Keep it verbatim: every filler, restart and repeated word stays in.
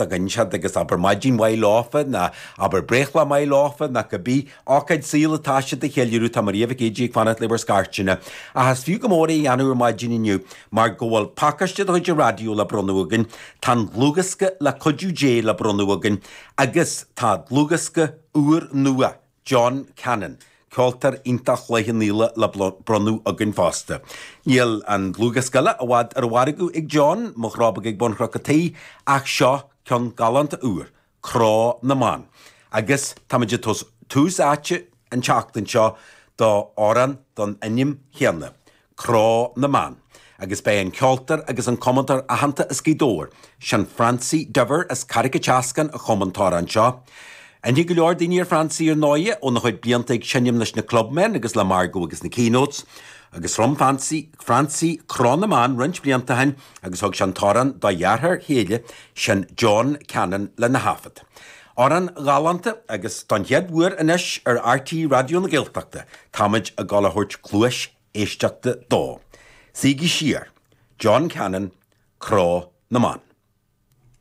againn siad agus abair maidin mhaith leofa ná abair breithlá maith leofa ná cibé ócáid saoil atá siad a cheiliúradh tá Maria Mhic Éadaigh ag fanacht le bhur scairteanna. Ach is fiú go mór é a dhéanamh ar maidin inniu mar go bhfuil pacáiste de chuid an raidió le bronnadh againn, tá an dlúthdhiosca le cuidiú Dé le bronnadh againn agus tá dlúthdhiosca úr nua John Cannon, ceoltóir iontach Chloich Cheann Fhaola le bronnadh againn fosta. Níl an dlúthdhiosca eile i bhfad ar an mhargadh ag John, Mo Chró Beag ag Bun Chnoc an Tí, ach seo ceann galánta úr, Cró na mBan. Agus táimid ag tabhairt tús áite an tseachtain seo do amhrán den ainm chéanna, Cró na mBan. Agus beidh an ceoltóir agus an cumadóir aitheanta as Gaoth Dobhair, sin Francie Diver as Carraig an tSeascáin a chum an t-amhrán seo. Aithne go leor daoine ar Francie ar ndóighe óna chuid blianta ag seinm leis na Clubmen agus le Margo agus na Keynotes, agus chum Francie, Francie Cró na mBan roinnt blianta ó shin agus thug sé an t-amhrán dá dheartháir chéile, sin John Cannon lena thaifead. Amhrán galánta agus don chéad uair anois ar RTÉ Raidió na Gaeltachta, táimid ag dul a thabhairt cluais éisteachta dó. Suígí siar. John Cannon, Cró na mBan.